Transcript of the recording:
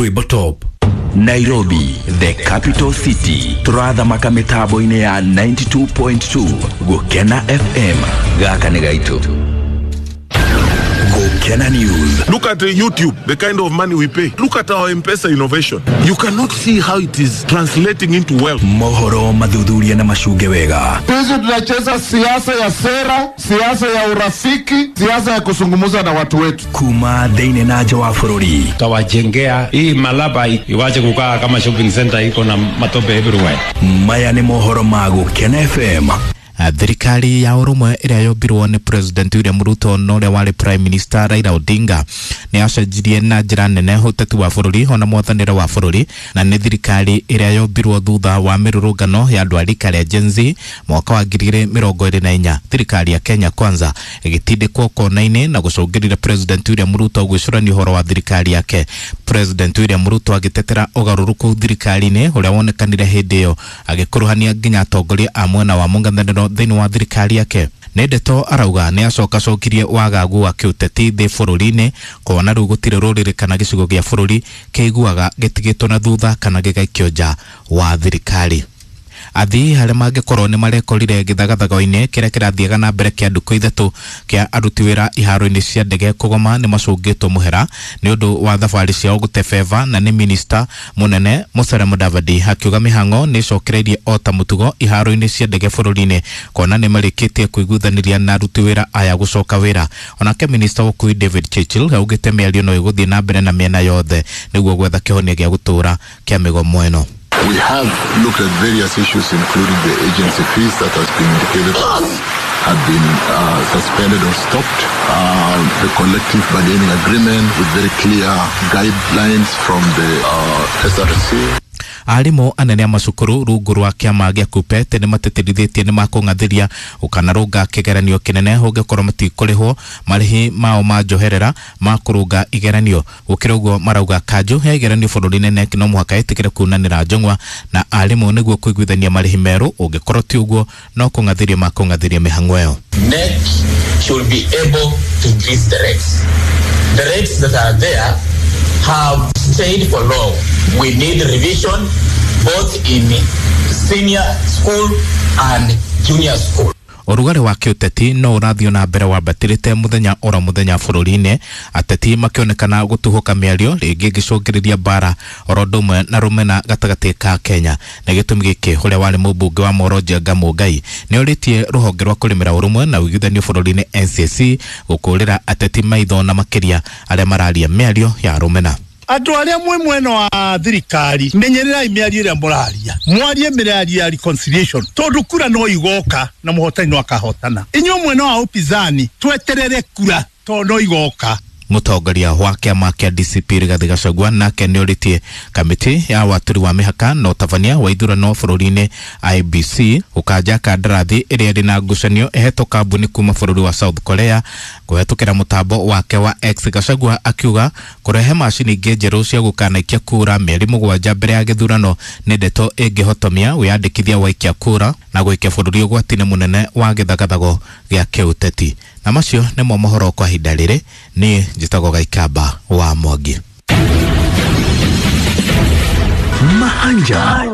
Rwimbo top. Nairobi, the capital city. Turathamaka mitambo-inĩ ya 92.2 Gũkena FM. Gaka nĩ gaitũ. Gũkena News. Look at YouTube, the kind of money we pay. Look at our M-Pesa innovation. You cannot see how it is translating into wealth. Mohoro mathuthuria na macunge wega. Sisi tunacheza siasa ya sera, siasa ya urafiki, siasa ya kuzungumza na watu wetu. Kuma thĩinĩ na nja wa bũrũri. Tutawajengea hii Malaba iwache kukaa kama shopping center iko na matope everywhere. Maya nĩ mohoro ma Gũkena FM. Thirikari ya ũrũmwe ĩrĩa yombirwo nĩ President William Ruto na ũrĩa warĩ Prime Minister Raila Odinga nĩ yacenjirie na njĩra nene ũteti wa bũrũri ona mwathanĩre wa bũrũri, na nĩ thirikari ĩrĩa yombirwo thutha wa mĩrũrũngano ya andũ a rika rĩa Gen Z mwaka wa 2024. Thirikari ya Kenya Kwanza ĩgĩtindĩkwo kona-inĩ na gũcũngĩrĩria President William Ruto gwĩcũrania ũhoro wa thirikari yake. President William Ruto agĩtetera ũgarũrũku thirikari-inĩ ũrĩa wonekanire hĩndĩ ĩyo, agĩkuruhania nginya atongoria a mwena wa mũng'ethanĩro thĩinĩ wa thirikari yake. Nĩ ndeto arauga nĩ acokacokirie wagagu wa kĩũteti thĩ bũrũri-inĩ, kuona rĩu gũtirĩ rũrĩrĩ kana gĩcigo gĩa bũrũri kĩiguaga gĩtigĩtwo na thutha kana gĩgaikio nja wa thirikari. Athii arĩa mangĩkorwo nĩ marekorire gĩthagathago-inĩ kĩrĩa kĩrathiaga na mbere kĩa ndukũ ithatũ kĩa aruti wĩra iharo-inĩ cia ndege kũgoma nĩ macũngĩtwo mũhera nĩ ũndũ wa thabarĩ ciao gũtebeba, na nĩ minista mũnene Musalia Mudavadi akiuga mĩhang'o nĩ ĩcokereirie o ta mũtugo iharo-inĩ cia ndege bũrũri-inĩ, kuona nĩ marĩkĩtie kũiguithanĩria na aruti wĩra aya gũcoka wĩra. Onake minista wa ũkui David Churchill augĩte mĩario no ĩgũthiĩ na mbere na mĩena yothe nĩguo gwetha kĩhonia gĩa gũtũũra kĩa mĩgomo ĩno. We have looked at various issues, including the agency fees that has been indicated have been suspended or stopped, the collective bargaining agreement with very clear guidelines from the SRC. Arimũ anene a macukuru rungu rwa kĩama gĩa KUPPET nĩ matetithĩtie nĩ makũng'athĩria ũkanarũnga kĩgeranio kĩnene ũngĩkorwo matikũrĩhwo marĩhi mao ma njoherera ma kũrũnga igeranio. Gũkĩra ũguo marauga kanjũ ya igeranio bũrũri-inĩ KNEC no mũhaka ĩtĩkĩre kunanĩra njũng'wa na arimũ nĩguo kũiguithania marĩhi merũ, ũngĩkorwo ti ũguo no kũng'athĩria makũng'athĩria mĩhang'o ĩyo. KNEC should be able to increase the rates. The rates that are there have stayed for long. We need revision both in senior school and junior school. Ũrugarĩ wa kĩũteti no ũrathiĩ na mbere wambatĩrĩte mũthenya oro mũthenya bũrũri-inĩ, ateti makĩonekana gũtuhũka mĩario rĩngĩ ĩngĩcũngĩrĩria mbara oro ũndũ ũmwe na rũmena gatagatĩ ka Kenya. Na gĩtũmi gĩkĩ ũrĩa warĩ mũmbunge wa Moro Njenga Mũngai nĩ orĩtie rũhonge rwa kũrĩmĩra ũrũmwe na ũiguithanio bũrũri-inĩ NCC gũkũrĩra ateti maitho na makĩria arĩa mararia mĩario ya rũmena. Andũ arĩa mwĩ mwena wa thirikari, menyererai mĩario ĩrĩa mũraria, mwarie mĩario ya reconciliation, tondũ kura no igoka na mũhotani no akahotana. Inyuĩ mwena wa upinzani tweterere kura tondũ no igoka. Mũtongoria wa kĩama kĩa DCP Rigathĩ Gachagua nake nĩ orĩtie kamĩtĩ ya watũri wa mĩhaka na ũtabania wa ithurano bũrũri-inĩ IBC gũkanja kandarathi ĩrĩa ĩrĩ na ngucanio ĩhetwo kambuni kuma bũrũri wa South Korea kũhetũkĩra mũtambo wake wa X. Gachagua akiuga kũrehe macini ingĩ njerũ cia gũkanaikia kura mĩeri 7 mbere ya gĩthurano nĩ ndeto ĩngĩhotomia wĩyandĩkithia wa ikia kura na gũikia bũrũri ũgwati-inĩ mũnene wa gĩthagathago gĩa kĩũteti. Na macio nĩmo mohoro kwa ihinda rĩrĩ. Niĩ njĩtagwo Gaikamba wa Mwangi. Mahanja.